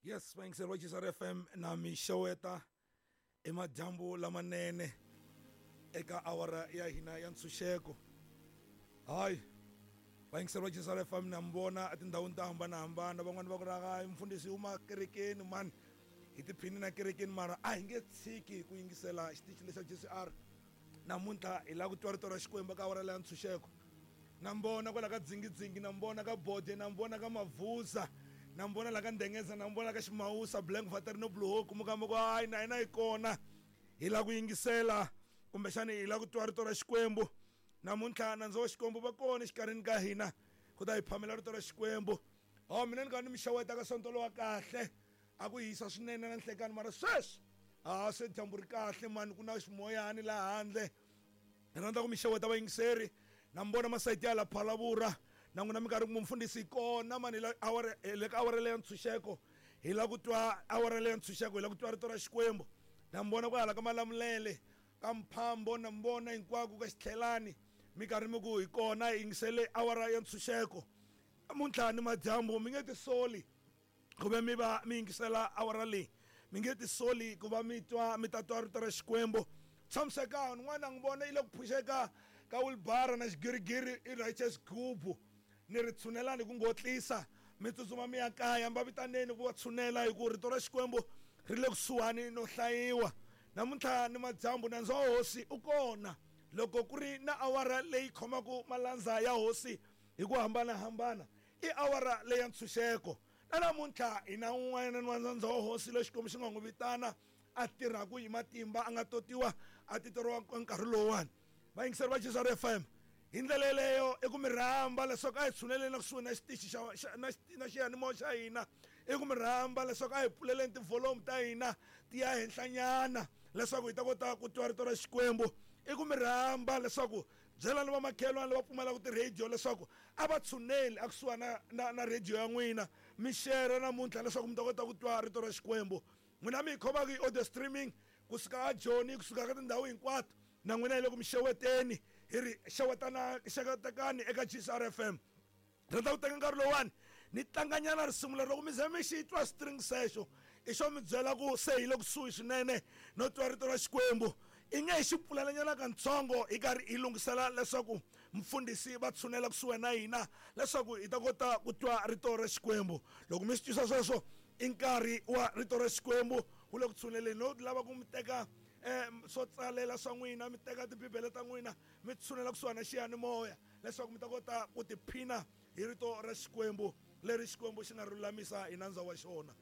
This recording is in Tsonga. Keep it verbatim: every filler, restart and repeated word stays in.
Yes, vayingiseri va G S R F M na mi xeweta emadyambu lamanene eka awara ya hina ya ntshunxeko. Hayi, vayingiseri va G S R F M na mi vona etindhawini to hambanahambana, van'wani va ku ri hayi mfundhisi huma kerekeni mani, hi tiphini na kerekeni, mara a hi nge tshiki ku yingisela xitichi lexa G S R. Namuntlha hi lava ku twa rito ra Xikwembu eka awara leya ntshunxeko. Na mi vona kwala ka Dzingidzingi, na mi vona ka Bode, na mi vona ka Mavuza, na mi vona la ka Ndengeza, na mi vona ka Ximawusa, Blank Vater no Blue Hawk, mi kamba ku hayi na hina hi kona hi lava ku yingisela kumbexani hi lava ku twa rito ra Xikwembu. Namuntlha nandza wa Xikwembu va kona exikarhini ka hina ku ta hi phamela rito ra Xikwembu. Ho mina ni ka ni mi xeweta ka sonto lowa kahle, a ku hisa swinene na nhlekani, mara sweswi a se dyambu ri kahle mani, ku na ximoyani laha handle. Ni rhandza ku mi xeweta vayingiseri, na mi vona masayiti ya la Phalavura, na n'wina mi karhi ku mfundhisi hi kona mani, hi la awara, hi le ka awara leya ntshunxeko, hi lava ku twa awara leya ntshunxeko, hi lava ku twa rito ra Xikwembu. Na mi vona ku hala ka Malamulele, ka Mphambo, na mi vona hinkwako ka Xitlhelani, mi karhi mi ku hi kona hi yingisele awara ya ntshunxeko. Namuntlha ni madyambu mi nge tisoli ku ve mi va mi yingisela awara leyi, mi nge tisoli ku va mi twa, mi ta twa rito ra Xikwembu. Tshamisekani, n'wana n'wi vona yi le ku phuxeka ka wheelbarrow na xigirigiri i righteous gubu, ni ri tshunelani ku ngotlisa, mi tsutsuma mi ya kaya, mi va vitaneni ku va tshunela, hi ku rito ra Xikwembu ri le kusuhani no hlayiwa. Namuntlha ni madyambu nandza wa hosi u kona. Loko ku ri na awara leyi khomaka malandza ya hosi hi ku hambanahambana, i awara leya ntshunxeko. Na namuntlha hi na un'wana wa nandza wa hosi loyi Xikwembu xi nga n'wi vitana, a tirhaka hi matimba, a nga totiwa, a titeriwa nkarhi lowuwani. Vayingiseri va G S R F M, hi ndlela yeleyo i ku mi rhamba leswaku a hi tshuneleni kusuhi na xitichi xa, xa, na xi-, na xiyanimoya xa hina. I ku mi rhamba leswaku a hi pfuleleni tivholomu ta hina ti ya henhlanyana leswaku hi ta kota ku twa rito ra Xikwembu. I ku mi rhamba leswaku byelani vamakhelwani lava pfumalaka ti-radio leswaku a va tshuneli a kusuhi na, na, na radio ya n'wina, mi share namuntlha leswaku mi ta kota ku twa rito ra Xikwembu. N'wina mi hi khomaka hi audio streaming kusuka a Joni, kusuka ka tindhawu hinkwato, na n'wina hi le ku mi xeweteni, hi ri xewetana, xewetekani eka G S R F M. Rhandza ku teka nkarhi lowuwani ni tlanganyana risimu leri, loko mi ze mi xi twa string sexo, i xo mi byela ku se hi le kusuhi swinene no twa rito ra Xikwembu. I nge hi xi pfulelanyana katsongo hi karhi hi lunghisela leswaku mfundhisi va tshunela kusuhi na hina leswaku hi ta kota ku twa rito ra Xikwembu. Loko mi swi twisa sweswo, i nkarhi wa rito ra Xikwembu wu le ku tshuneleni. No lava ku mi teka, eh, swo tsalela swa n'wina, mi teka tibibele ta n'wina, mi tshunela kusuhi na xiyanimoya leswaku mi ta kota ku tiphina hi rito ra Xikwembu leri Xikwembu xi nga ri lulamisa hi nandza wa xona.